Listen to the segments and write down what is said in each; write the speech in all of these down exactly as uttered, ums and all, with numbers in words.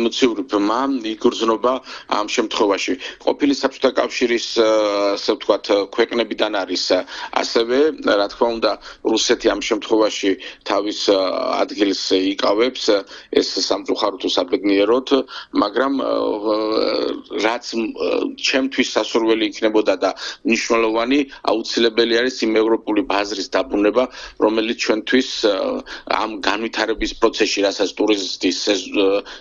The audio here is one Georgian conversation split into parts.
ემოციური ბმა იგრძნობა ამ შემთხვევაში. ყოფილი საბჭოთა კავშირის ასე ვთქვათ ქვეყნებიდან არის ასევე რა თქმა უნდა რუსეთი ამ შემთხვევაში თავის ადგილს იკავებს ეს სამწუხაროდ თუ საბედნიეროდ, მაგრამ რაც ჩემთვის სასურველი იქნებოდა და მნიშვნელოვანი აუცილებელი არის იმ ევროპული ბაზრის დაბრუნება, რომელიც ჩვენთვის ამ განვითარების პროცესში, რასაც ტურიზმის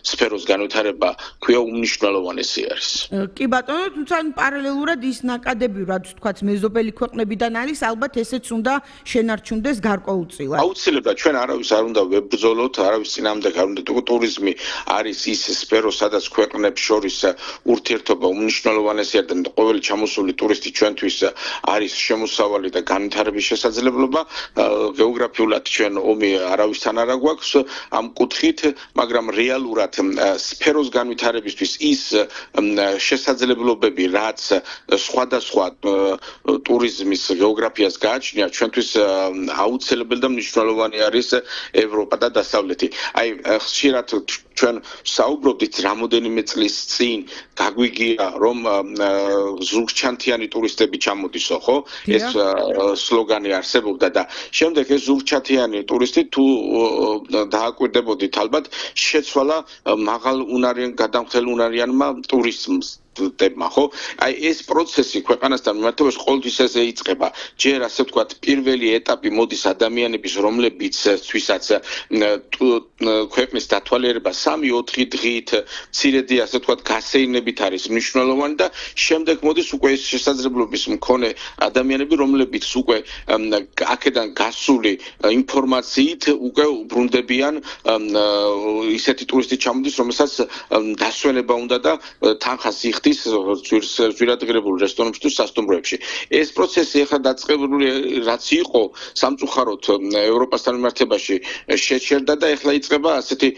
სფეროს განვითარება ქვია უმნიშვნელოვანესი არის. კი ბატონო, თუმცა პარალელურად ის ნაკადები, რაც თქვათ მეზობელი ქვეყნებიდან არის, ალბათ ესეც უნდა შენარჩუნდეს გარკვეულწილად. აუცილებლად ჩვენ არავის არ უნდა ვებრძოლოთ, არავის წინააღმდეგ არ უნდა ტურიზმი არის ის სფერო, სადაც ქვეყნებს შორის ურთიერთობა უმნიშვნელოვანესი არის და ყოველი ჩამოსული ტურისტი ჩვენთვის არის შემოსავალი და განვითარების შესაძლებლობა. გეოგრაფიულად ჩვენ ომი არავისთან არ აგვაქვს ამ კუთხით, მაგრამ რეალურად სფეროს განვითარებისთვის ის შესაძლებლობები, რაც სხვადასხვა ტურიზმის გეოგრაფიას გააჩნია, ჩვენთვის აუცილებელი და მნიშვნელოვანი არის ევროპა და დასავლეთი. აი ხშირად ჩვენ საუბრობთ რამოდენიმე წლის წინ გაგვიგია რომ ზურგჩანთიანი ტურისტები ჩამოდისო, ხო? ეს სლოგანი არსებობდა და შემდეგ ეს ზურგჩანთიანი ტურისტი თუ დააკვირდებოდით ალბათ შეცვალა მაღალ უნარიან გადამხდელ უნარიანმა ტურიზმს ტებმა, ხო? აი ეს პროცესი ქვეყანასთან მიმართებაში ყოველთვის ესე იწყება. ჯერ ასე ვთქვათ, პირველი ეტაპი მოდის ადამიანების, რომლებიც თვისაც ქვეყნის დათვალიერება სამი ოთხი დღით, მცირედი ასე ვთქვათ, გასეირნებით არის მნიშვნელოვანი და შემდეგ მოდის უკვე ეს შესაძლებლობის მქონე ადამიანები, რომლებიც უკვე აქედან გასული ინფორმაციით უკვე უბრუნდებიან ისეთი ტურისტი ჩამოდის, რომელსაც დასვენება უნდა და თანხას იხდის ძვირადღირებულ რესტორნებში თუ სასტუმროებში. ეს პროცესი ახლა დაწყებული რაც იყო სამწუხაროდ ევროპასთან მიმართებაში შეჩერდა და ახლა იწყება ასეთი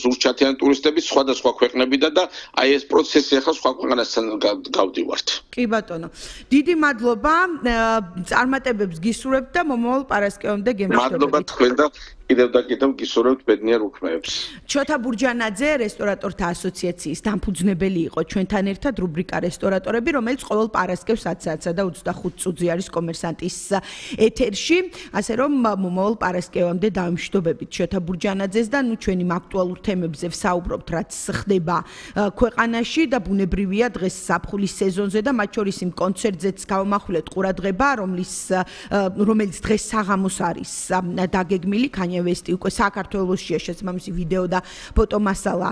ზურგჩანთიანი ტურისტები სხვადასხვა ქვეყნებიდან და აი ეს პროცესი ახლა სხვა ქვეყნებთან გავდივართ. კი ბატონო. დიდი მადლობა. წარმატებებს გისურვებთ და მომავალ პარასკევამდე გემშვიდობებით. მადლობა თქვენ და კიდევ და კიდევ გისურვებთ ბედნიერ უქმეებს. ჩოთა ბურჯანაძე, რესტორატორთა ასოციაციის დამფუძნებელი იყო ჩვენთან ერთად რუბრიკა რესტორატორები, რომელიც ყოველ პარასკევს ათ საათსა და ოცდახუთ წუთზე არის კომერსანტის ეთერში, ასე რომ მომავალ პარასკევამდე დავიმშვიდობებით ჩოთა ბურჯანაძეს და ნუ ჩვენი აქტუალურ თემებზე ვსაუბრობთ, რაც ხდება ქვეყანაში და ბუნებრივია დღეს ზაფხულის სეზონზე და მათ შორის იმ კონცერტზეც გავამახვილეთ ყურადღება, რომლის რომელიც დღეს საღამოს არის დაგეგმილი. ვესტი უკვე საქართველოსშია შესაბამისი ვიდეო და ფოტომასალა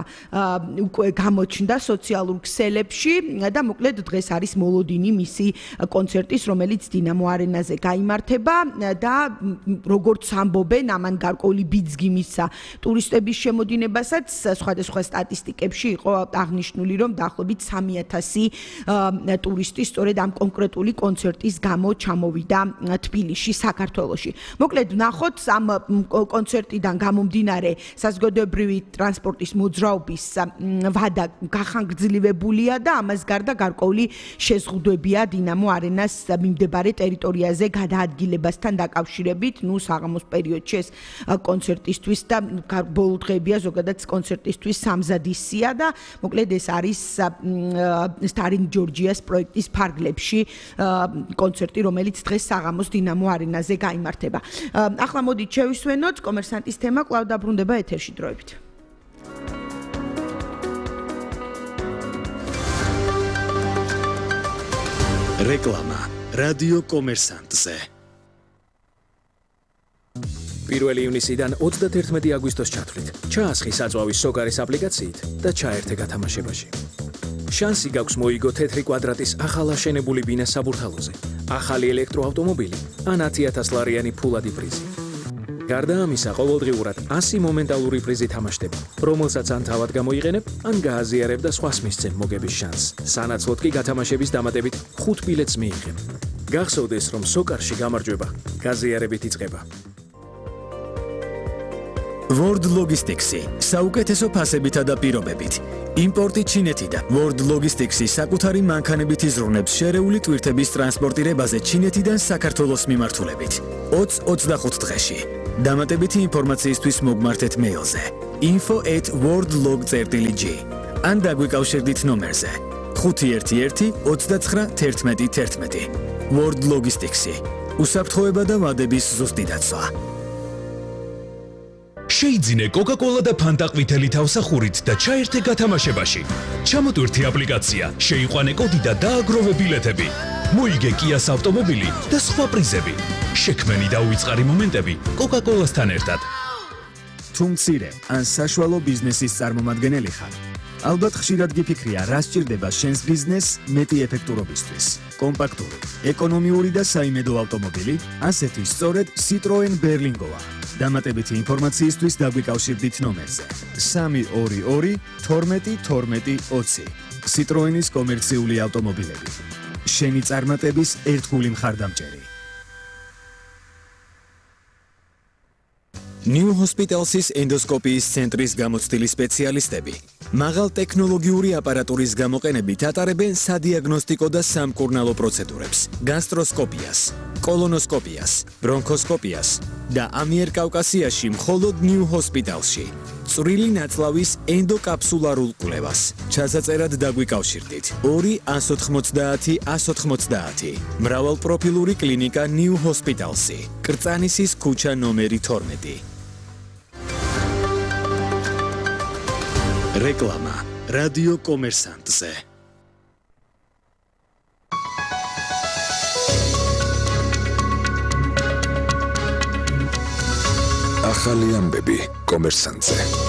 უკვე გამოჩნდა სოციალურ ქსელებში და მოკლედ დღეს არის მოლოდინი მისი კონცერტის, რომელიც დინამო არენაზე გაიმართება და როგორც ამბობენ, ამან გარკვეული ბიძგი მისცა ტურისტების შემოდინებასაც, სხვადასხვა სტატისტიკებში იყო აღნიშნული, რომ დაახლოებით სამი ათასი ტურისტი სწორედ ამ კონკრეტული კონცერტის გამო ჩამოვიდა თბილისში, საქართველოში. მოკლედ ვნახოთ ამ კონცერტიდან გამომდინარე საზოგადოებრივი ტრანსპორტის მოძრაობის ვადა გახანგრძლივებულია და ამას გარდა გარკვეული შეზღუდვებია დინამო არენას მიმდებარე ტერიტორიაზე გადაადგილებასთან დაკავშირებით, ნუ საღამოს პერიოდში ეს კონცერტისთვის და ბოლო დღეებია ზოგადად კონცერტისთვის სამზადისია და მოკლედ ეს არის სტარინგ ჯორჯიას პროექტის ფარგლებში კონცერტი, რომელიც დღეს საღამოს დინამო არენაზე გაიმართება. ახლა მოდით შევისვენოთ კომერსანტის თემა კვლავ დაბრუნდება ეთერში დროებით. რეკლამა რადიო კომერსანტზე. პირველი ივნისიდან ოცდათერთმეტი აგვისტოს ჩათვლით. ჩაასხი საწვავის სოკარის აპლიკაციით და ჩაერთე გათამაშებაში. შანსი გაქვს მოიგო თეთრი კვადრატის ახალ აშენებული ბინა საბურთალოზე, ახალი ელექტროავტომობილი ან ათი ათას ლარიანი ფულადი პრიზი. გარდა ამისა, ყოველდღიურად ასი მომენტალური პრიზი თამაშდება, რომელსაც ან თავად გამოიყენებ, ან გააზიარებ და სხვას მისცემ მოგების შანსს. სანაცვლოდ კი გათამაშების დამატებით ხუთ ბილეთს მიიღებ. გახსოვდეს, რომ სოკარში გამარჯვება გაზიარებით იწყება. World Logistics-ი საუკეთესო ფასებითა და პირობებით. იმპორტი ჩინეთიდან. World Logistics-ი საკუთარი მანქანებით იზრუნებს შერეული ტვირთების ტრანსპორტირებაზე ჩინეთიდან საქართველოს მიმართულებით. ოცდახუთ დღეში. დამატებითი ინფორმაციისთვის მოგმართეთ მეილზე. info at worldlog.g ან დაგვიკავშირდით ნომერზე ხუთი ერთი ერთი ოცდათხრა თერთმეტი თერთმეტი. World Logistics-ი. უსაფრთხოება და ვადების ზუსტი დაცვა. შეიძინე Coca-Cola და Fanta ყვითელი თავსახურით და ჩაერთე გათამაშებაში. ჩამოტვირთი აპლიკაცია, შეიყვანე კოდი და დააგროვე ბილეთები. მოიგე Kia's ავტომობილი და სხვა პრიზები. შექმენი და უიწყარი მომენტები Coca-Cola-სთან ერთად. თუ მცირე ან საშუალო ბიზნესის წარმომადგენელი ხარ, ალბათ ხშირად გიფიქრია, რა სჭირდება შენს ბიზნესს მეტი ეფექტურობისთვის. კომპაქტური, ეკონომიური და საიმედო ავტომობილი, ასეთი სწორედ Citroen Berlingo-ა. დამატებითი ინფორმაციისთვის დაგვიკავშირდით ნომერზე სამი ორი ორი თორმეტი თორმეტი ოცი. Citroen-ის კომერციული ავტომობილები. შენი წარმატების ერთგული მხარდამჭერი. New Hospitals-ის ენდოსკოპიის ცენტრის გამოცდილი სპეციალისტები მაღალ ტექნოლოგიური აპარატურის გამოყენებით ატარებენ სადიაგნოსტიკო და სამკურნალო პროცედურებს, გასტროსკოპიას, კოლონოსკოპიას, ბრონქოსკოპიას და ამიერკავკასიაში მხოლოდ New Hospital-ში წვრილი ნაწლავის ენდოკაპსულარულ კვლევას. ჩასაწერად დაგვიკავშირდით ორი ას ოთხმოცდაათი ას ოთხმოცდაათი. მრავალპროფილური კლინიკა New Hospital-ში. კრწანისის ქუჩა ნომერი თორმეტი. რეკლამა რადიო კომერსანტზე. ახალი ამბები კომერსანტზე.